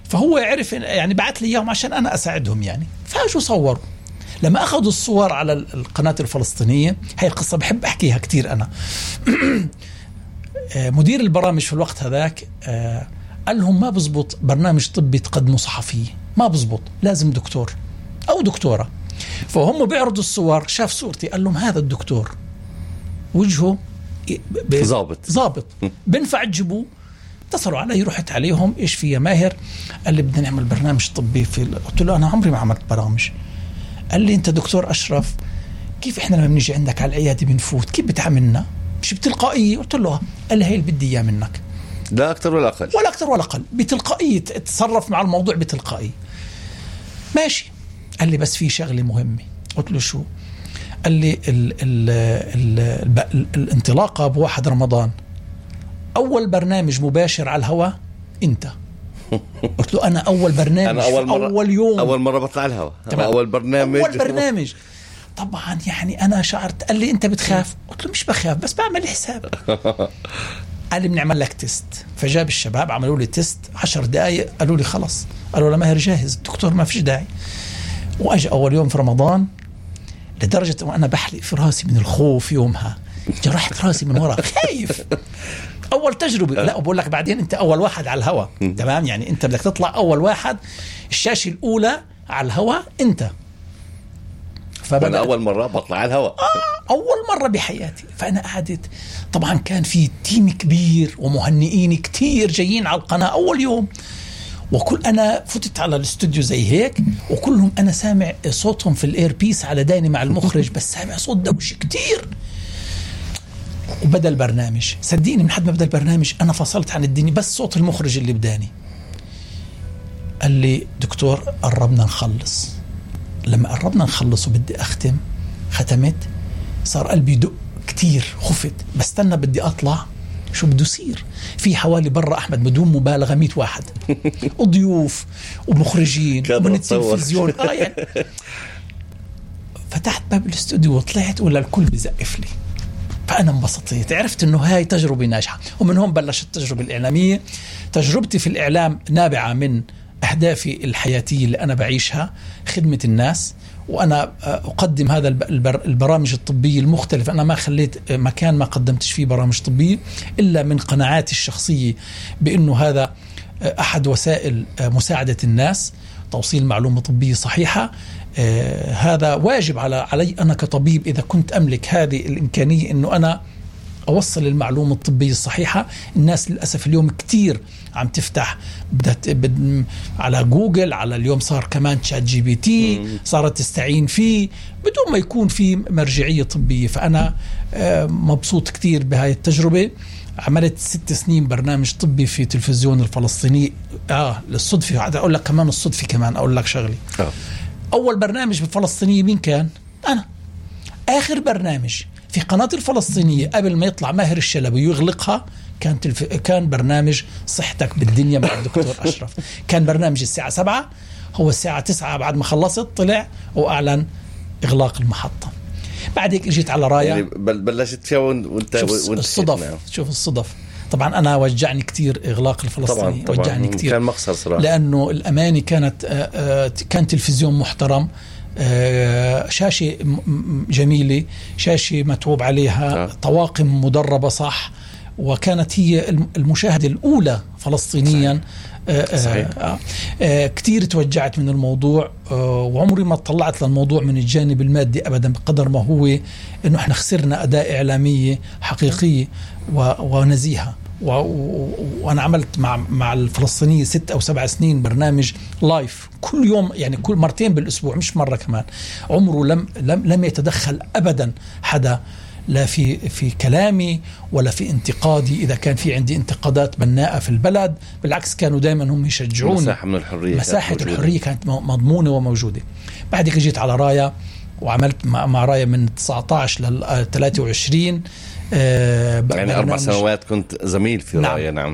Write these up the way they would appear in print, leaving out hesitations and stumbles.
فهو يعرف يعني بعت لي إياهم عشان أنا أساعدهم يعني. فاجوا صوروا. لما أخذوا الصور على القناة الفلسطينية، هاي القصة بحب أحكيها كتير أنا. مدير البرامج في الوقت هذاك قال لهم ما بزبط برنامج طبي تقدمه صحفي، ما بزبط، لازم دكتور أو دكتورة. فهم بيعرضوا الصور، شاف صورتي قال لهم هذا الدكتور وجهه ضابط بنفع تجيبوه. اتصلوا علي، رحت عليهم، ايش في يا ماهر؟ قال لي بدنا نعمل برنامج طبي قلت له انا عمري ما عملت برامج. قال لي انت دكتور اشرف، كيف احنا لما بنيجي عندك على العياده بنفوت كيف بتعاملنا؟ مش بتلقائيه؟ قلت له قال لي هي اللي بدي اياه منك، لا اكثر ولا اقل، ولا اكثر ولا اقل، بتلقائيه تتصرف مع الموضوع بتلقائيه. ماشي. قال لي بس في شغله مهمه. قلت له شو؟ قال لي الانطلاقه بواحد رمضان أول برنامج مباشر على الهواء أنت. قلت له أنا أول برنامج، أنا أول يوم أول مرة بطلع الهواء، أول برنامج. طبعا يعني أنا شعرت. قال لي أنت بتخاف؟ قلت له مش بخاف بس بعمل حساب. قال لي بنعمل لك تيست. فجاب الشباب عملوا لي تيست 10 دقايق، قالوا لي خلص، قالوا لماهر جاهز الدكتور ما فيش داعي. وأجي أول يوم في رمضان، لدرجة وأنا بحلق في راسي من الخوف يومها، جرحت راسي من وراء خايف. أول تجربة. لا بقول لك بعدين أنت أول واحد على الهواء، تمام؟ يعني أنت بدك تطلع أول واحد، الشاشة الأولى على الهواء أنت. فأنا أول مرة بطلع على الهواء، أول مرة بحياتي. فأنا قعدت، طبعا كان في تيم كبير ومهنئين كتير جايين على القناة أول يوم، وكل أنا فتت على الاستوديو زي هيك، وكلهم أنا سامع صوتهم في الإير بيس على داني مع المخرج، بس سامع صوت دوش كتير. وبدأ البرنامج، صدقيني من حد ما بدأ البرنامج أنا فصلت عن الدنيا، بس صوت المخرج اللي بداني. قال لي دكتور قربنا نخلص. لما قربنا نخلص وبدي أختم، ختمت، صار قلبي يدق كتير، خفت بستنى بدي أطلع شو بده يصير. في حوالي برا أحمد بدون مبالغة 100 واحد، وضيوف ومخرجين ومن التلفزيون. يعني فتحت باب الاستوديو وطلعت، ولا الكل بزقف لي. فأنا انبسطت، عرفت إنه هاي تجربة ناجحة. ومن هون بلشت التجربة الإعلامية. تجربتي في الإعلام نابعة من أهدافي الحياتية اللي أنا بعيشها، خدمة الناس، وأنا أقدم هذا البرامج الطبية المختلفة. أنا ما خليت مكان ما قدمتش فيه برامج طبية إلا من قناعاتي الشخصية بأنه هذا أحد وسائل مساعدة الناس، توصيل معلومة طبية صحيحة. هذا واجب علي أنا كطبيب، إذا كنت أملك هذه الإمكانية أنه أنا أوصل المعلومة الطبية الصحيحة. الناس للأسف اليوم كتير عم تفتح على جوجل، على اليوم صار كمان تشات جي بي تي، صارت تستعين فيه بدون ما يكون في مرجعية طبية. فأنا مبسوط كتير بهاي التجربة. عملت 6 سنين برنامج طبي في تلفزيون الفلسطيني. للصدفة أقول لك كمان، الصدفة كمان أقول لك شغلي. أول برنامج بالفلسطينية مين كان؟ أنا. آخر برنامج في قناة الفلسطينية قبل ما يطلع ماهر الشلبي ويغلقها كان برنامج صحتك بالدنيا مع الدكتور أشرف. كان برنامج الساعة 7، هو الساعة 9 بعد ما خلصت طلع وأعلن إغلاق المحطة. بعد هيك جيت على راية، يعني بلشت فيها وانت الصدف. شوف الصدف. طبعا أنا وجعني كتير إغلاق الفلسطيني، طبعاً وجعني كتير، كان مخسر صراحة، لأنه الأماني كان تلفزيون محترم، شاشة جميلة، شاشة متعوب عليها، طواقم مدربة صح، وكانت هي المشاهدة الأولى فلسطينيا. كتير توجعت من الموضوع، وعمري ما طلعت للموضوع من الجانب المادي أبدا، بقدر ما هو إنه إحنا خسرنا أداء إعلامية حقيقية ونزيهة. وأنا عملت مع الفلسطينية 6 أو 7 سنين برنامج لايف كل يوم، يعني كل مرتين بالأسبوع، مش مرة كمان. عمره لم يتدخل أبدا حدا، لا في كلامي ولا في انتقادي. إذا كان في عندي انتقادات بناءة في البلد، بالعكس كانوا دايما هم يشجعون. مساحة الحرية كانت مضمونة وموجودة. بعد كده جيت على راية، وعملت مع راية من 19 ل 23. يعني 4 سنوات كنت زميل في راية. نعم.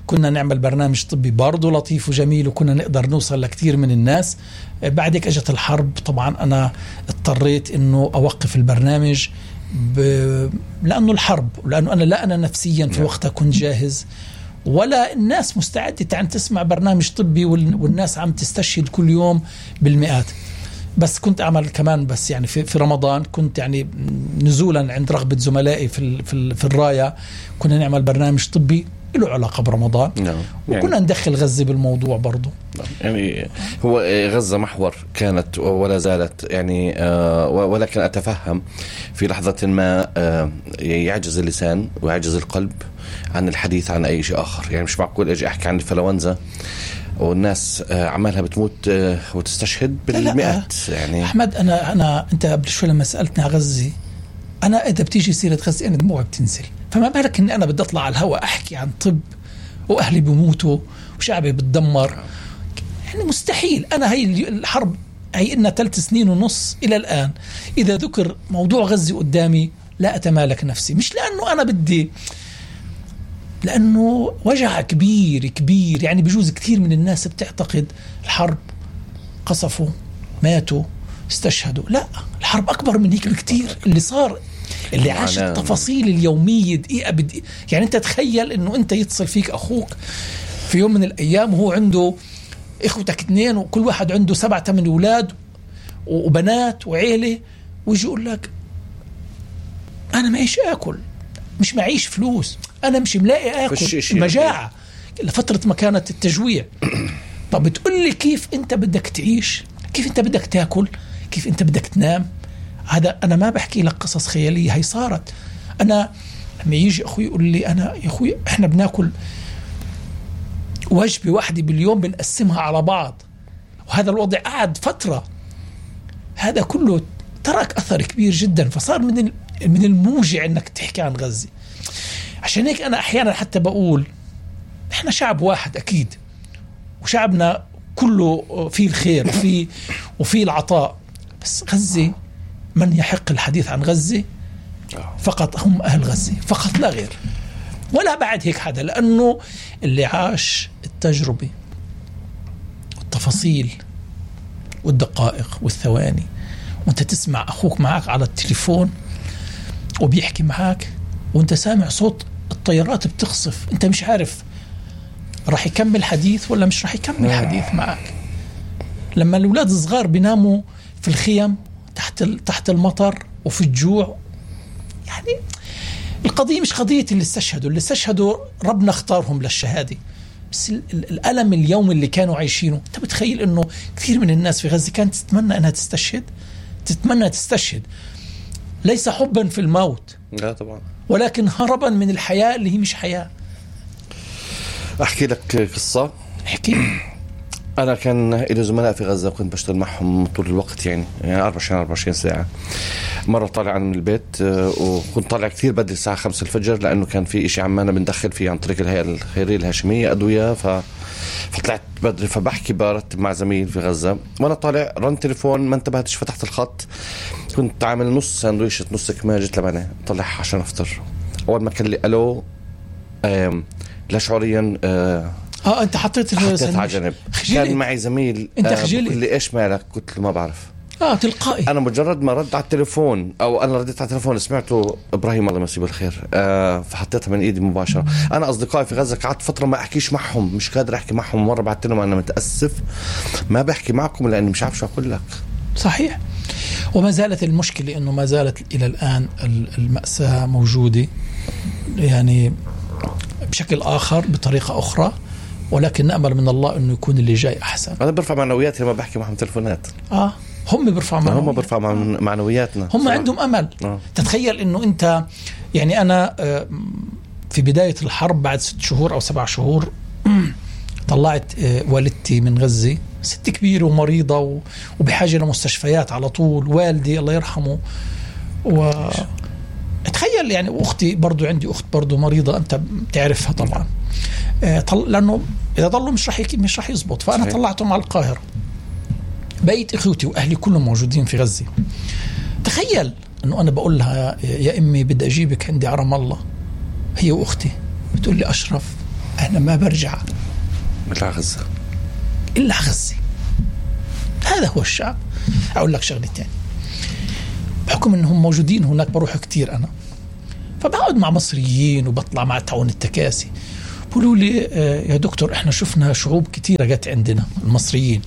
كنا نعمل برنامج طبي برضو لطيف وجميل، وكنا نقدر نوصل لكتير من الناس. بعدك أجت الحرب، طبعا أنا اضطريت إنه أوقف البرنامج لأنه الحرب، ولأنه أنا نفسيا في وقتها كنت جاهز، ولا الناس مستعدة عن تسمع برنامج طبي والناس عم تستشهد كل يوم بالمئات. بس كنت أعمل كمان، بس يعني في رمضان كنت يعني نزولا عند رغبة زملائي في الراية كنا نعمل برنامج طبي له علاقة برمضان. وكنا ندخل غزة بالموضوع برضو. يعني هو غزة محور كانت ولا زالت يعني، ولكن أتفهم في لحظة ما يعجز اللسان ويعجز القلب عن الحديث عن أي شيء آخر. يعني مش معقول أجي أحكي عن الإنفلونزا والناس عمالها بتموت وتستشهد بالمئات. يعني أحمد، أنت قبل شوي لما سألتني عن غزة، أنا إذا بتيجي سيرة غزة أنا دموعي بتنزل. فما بالك إني أنا بدي أطلع على الهواء أحكي عن طب وأهلي بيموتوا وشعبي بتدمر؟ يعني مستحيل. أنا هي الحرب هي إنها 3 سنين ونص إلى الآن، إذا ذكر موضوع غزة قدامي لا أتمالك نفسي. مش لأنه أنا بدي، لأنه وجع كبير. يعني بيجوز كثير من الناس بتعتقد الحرب قصفوا ماتوا استشهدوا. لا، الحرب أكبر من هيك بكتير. اللي صار، اللي عاش التفاصيل اليومية دقيقة بدقيقة. يعني أنت تخيل إنه أنت يتصل فيك أخوك في يوم من الأيام وهو عنده إخوتك 2 وكل واحد عنده 7-8 أولاد وبنات وعيلة، ويجي يقول لك أنا معيش أكل، مش معيش فلوس، أنا مش ملاقي أكل، مجاعة لفترة ما كانت التجويع. طب بتقول لي كيف أنت بدك تعيش؟ كيف أنت بدك تأكل؟ كيف أنت بدك تنام؟ هذا أنا ما بحكي لك قصص خيالية، هي صارت. أنا لما يجي أخوي يقول لي أنا يا أخوي إحنا بناكل وجبة واحدة باليوم بنقسمها على بعض، وهذا الوضع قعد فترة. هذا كله ترك أثر كبير جدا. فصار من الموجع إنك تحكي عن غزة. عشان هيك أنا أحيانا حتى بقول إحنا شعب واحد أكيد، وشعبنا كله فيه الخير وفيه العطاء. بس غزة من يحق الحديث عن غزة فقط هم أهل غزة فقط، لا غير ولا بعد هيك حدا. لأنه اللي عاش التجربة والتفاصيل والدقائق والثواني، وانت تسمع أخوك معك على التليفون وبيحكي معك وانت سامع صوت الطيارات بتخصف، انت مش عارف راح يكمل حديث ولا مش راح يكمل حديث معك. لما الأولاد الصغار بيناموا في الخيم تحت المطر وفي الجوع، يعني القضية مش قضية اللي استشهدوا ربنا اختارهم للشهادة، بس الألم اليوم اللي كانوا عايشينه. انت بتخيل انه كثير من الناس في غزة كانت تتمنى انها تستشهد، ليس حبا في الموت، لا طبعا، ولكن هربا من الحياة اللي هي مش حياة. أحكي لك قصة. احكي. أنا كان إلي زملاء في غزة وكنت بشتغل معهم طول الوقت، يعني 24 ساعة. مرة طالع من البيت وكنت طالع كثير بدري الساعة 5 الفجر، لأنه كان في إشي عمانا بندخل فيه عن طريق الهيئة الخيرية الهاشمية أدوية، فطلعت بدري. فبحكي برتب مع زميل في غزة وأنا طالع، رن تليفون ما انتبهتش، فتحت الخط، كنت عامل نص ساندويشة نص كمية جت لبنة طلع عشان أفطر. أول ما كان لي ألو لا شعوريا انت حطيت على جنب. كان معي زميل انت خجلت اللي ايش مالك؟ قلت له ما بعرف. تلقائي. انا مجرد ما رد على التليفون او انا رديت على التليفون سمعته ابراهيم الله يمسيه بالخير، فحطيتها من ايدي مباشره. انا اصدقائي في غزه قعدت فتره ما احكيش معهم، مش قادر احكي معهم. مره بعثت لهم انا متاسف ما بحكي معكم لاني مش عارف شو اقول لك. صحيح. وما زالت المشكله انه ما زالت الى الان المأساة موجوده، يعني بشكل اخر بطريقه اخرى، ولكن نأمل من الله انه يكون اللي جاي احسن. انا برفع معنوياتي لما بحكي معهم تلفونات. هم بيرفعوا معنوياتنا. هم عندهم امل. تتخيل انه انت، يعني انا في بداية الحرب بعد 6 شهور او 7 شهور طلعت والدتي من غزة، ست كبيرة ومريضة وبحاجة لمستشفيات على طول، والدي الله يرحمه. تخيل يعني، واختي برضو، عندي اخت برضو مريضة انت بتعرفها طبعا، لانه اذا ضلوا مش راح يزبط. فانا صحيح. طلعتهم على القاهرة، بقيت اخوتي واهلي كلهم موجودين في غزة. تخيل انه انا بقول لها يا امي بدي اجيبك عندي على رام الله، هي واختي، بتقول لي اشرف انا ما برجع الا غزة. هذا هو الشعب. اقول لك شغله ثانيه، بحكم انهم موجودين هناك بروح كتير انا، فبقعد مع مصريين وبطلع مع تعاون التكاسي، بقولوا لي يا دكتور إحنا شفنا شعوب كتيرة جت عندنا المصريين،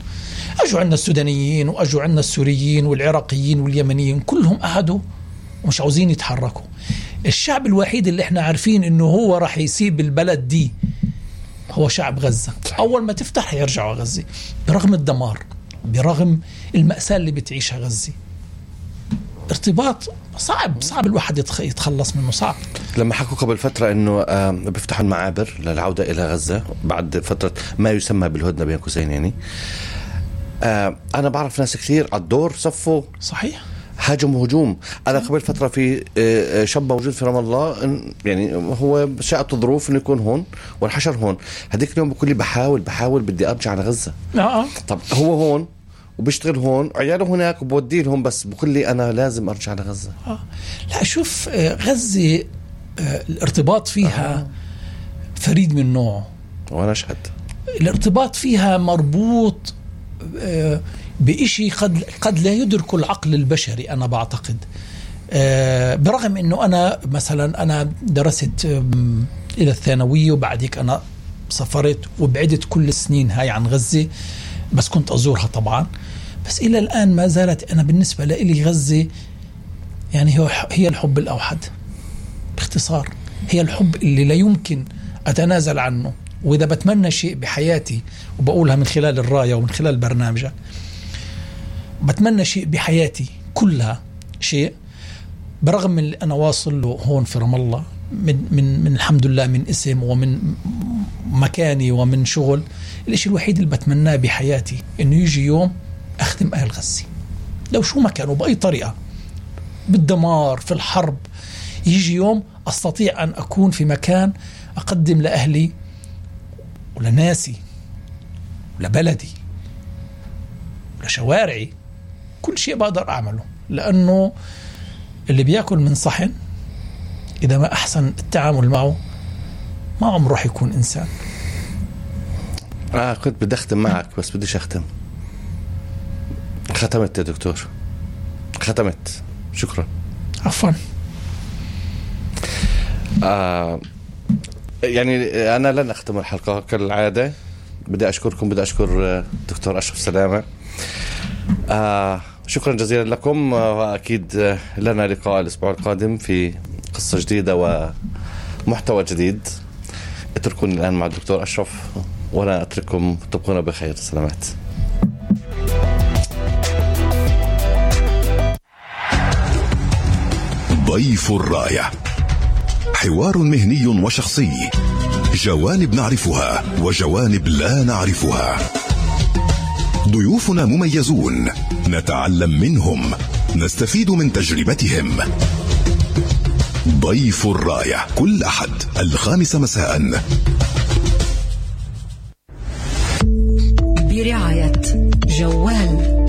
أجوا عندنا السودانيين وأجوا عندنا السوريين والعراقيين واليمنيين، كلهم قعدوا ومش عاوزين يتحركوا. الشعب الوحيد اللي احنا عارفين انه هو راح يسيب البلد دي هو شعب غزة. أول ما تفتح يرجعوا غزة برغم الدمار، برغم المأساة اللي بتعيشها غزة. ارتباط صعب الواحد يتخلص منه، صعب. لما حكوا قبل فترة انه بيفتحوا المعابر للعودة الى غزة بعد فترة ما يسمى بالهدنة بين قوسين يعني، انا بعرف ناس كثير على الدور صفوا صحيح هاجموا هجوم. انا قبل فترة في شاب موجود في رام الله، يعني هو شاءت الظروف انه يكون هون والحشر هون. هديك اليوم بقول لي بحاول بدي ارجع على غزة. طب هو هون وبيشتغل هون وعياله هناك وبودي لهم، بس بقول لي أنا لازم أرجع لغزة. لا شوف، غزة الارتباط فيها فريد من نوعه، وأنا أشهد. الارتباط فيها مربوط بإشي قد لا يدرك العقل البشري. أنا بعتقد برغم أنه أنا مثلا أنا درست إلى الثانوية وبعديك أنا سافرت وبعدت كل السنين هاي عن غزة، بس كنت أزورها طبعا. بس إلى الآن ما زالت أنا بالنسبة لي غزة يعني هي الحب الأوحد باختصار. هي الحب اللي لا يمكن أتنازل عنه. وإذا بتمنى شيء بحياتي، وبقولها من خلال الراية ومن خلال برنامجك، بتمنى شيء بحياتي كلها شيء برغم من اللي أنا واصل له هون في رام الله من الحمد لله، من اسم ومن مكاني ومن شغل. الاشي الوحيد اللي بتمناه بحياتي انه يجي يوم اخدم اهل غزة، لو شو ما كانوا باي طريقة، بالدمار في الحرب، يجي يوم استطيع ان اكون في مكان اقدم لاهلي ولناسي ولبلدي ولشوارعي كل شيء بقدر اعمله. لانه اللي بياكل من صحن اذا ما احسن التعامل معه ما عمره راح يكون انسان. كنت بدي أختم معك بس بديش أختم. ختمت يا دكتور، ختمت. شكرا. عفوا. يعني أنا لن أختم الحلقة كالعادة. بدي أشكركم، بدي أشكر دكتور أشرف سلامة. شكرا جزيلا لكم، وأكيد لنا لقاء الأسبوع القادم في قصة جديدة ومحتوى جديد. اتركوني الآن مع الدكتور أشرف وأنا أترككم تبقون بخير. سلامات. ضيف الراية، حوار مهني وشخصي، جوانب نعرفها وجوانب لا نعرفها. ضيوفنا مميزون، نتعلم منهم، نستفيد من تجربتهم. ضيف الراية كل أحد 5 مساء برعاية جوال.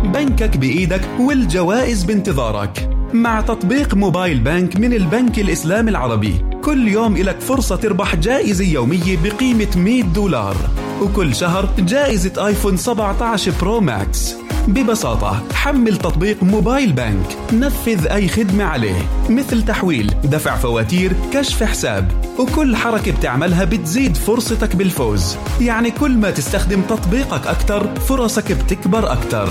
بنكك بإيدك والجوائز بانتظارك. مع تطبيق موبايل بانك من البنك الإسلامي العربي، كل يوم إلك فرصة تربح جائزة يومية بقيمة $100، وكل شهر جائزة آيفون 17 برو ماكس. ببساطة حمل تطبيق موبايل بانك، نفذ أي خدمة عليه مثل تحويل، دفع فواتير، كشف حساب، وكل حركة بتعملها بتزيد فرصتك بالفوز. يعني كل ما تستخدم تطبيقك أكتر فرصك بتكبر أكتر.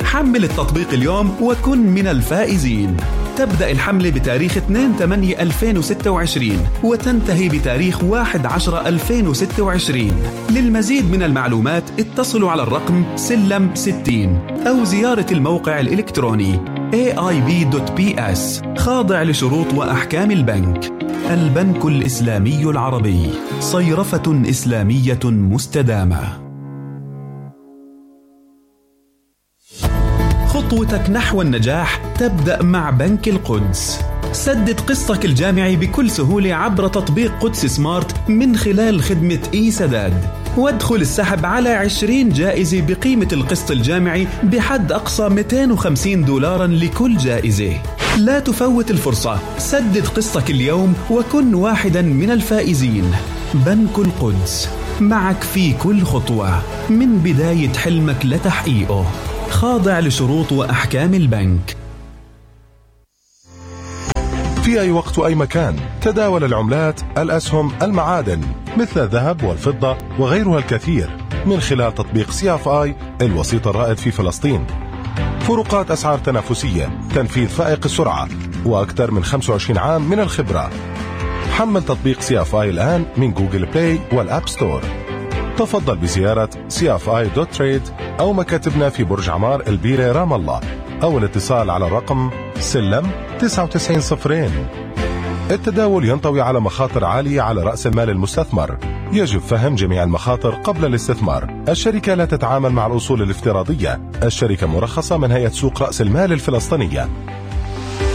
حمل التطبيق اليوم وكن من الفائزين. تبدأ الحملة بتاريخ 2/8/2026 وتنتهي بتاريخ 1/10/2026. للمزيد من المعلومات اتصلوا على الرقم سلم 60 أو زيارة الموقع الإلكتروني aib.ps. خاضع لشروط وأحكام البنك. البنك الإسلامي العربي، صيرفة إسلامية مستدامة. خطوتك نحو النجاح تبدأ مع بنك القدس. سدد قسطك الجامعي بكل سهولة عبر تطبيق قدس سمارت من خلال خدمة سداد، وادخل السحب على 20 جائزة بقيمة القسط الجامعي بحد أقصى $250 لكل جائزة. لا تفوت الفرصة، سدد قسطك اليوم وكن واحدا من الفائزين. بنك القدس، معك في كل خطوة من بداية حلمك لتحقيقه. خاضع لشروط وأحكام البنك. في أي وقت وأي مكان تداول العملات، الأسهم، المعادن مثل الذهب والفضة وغيرها الكثير من خلال تطبيق CFI الوسيط الرائد في فلسطين. فروقات أسعار تنافسية، تنفيذ فائق السرعة، وأكثر من 25 عام من الخبرة. حمل تطبيق CFI الآن من جوجل بلاي والأب ستور. تفضل بزيارة cfi.trade أو مكاتبنا في برج عمار البيرة رام الله، أو الاتصال على الرقم سلم 9902. التداول ينطوي على مخاطر عالية على رأس المال المستثمر. يجب فهم جميع المخاطر قبل الاستثمار. الشركة لا تتعامل مع الأصول الافتراضية. الشركة مرخصة من هيئة سوق رأس المال الفلسطينية.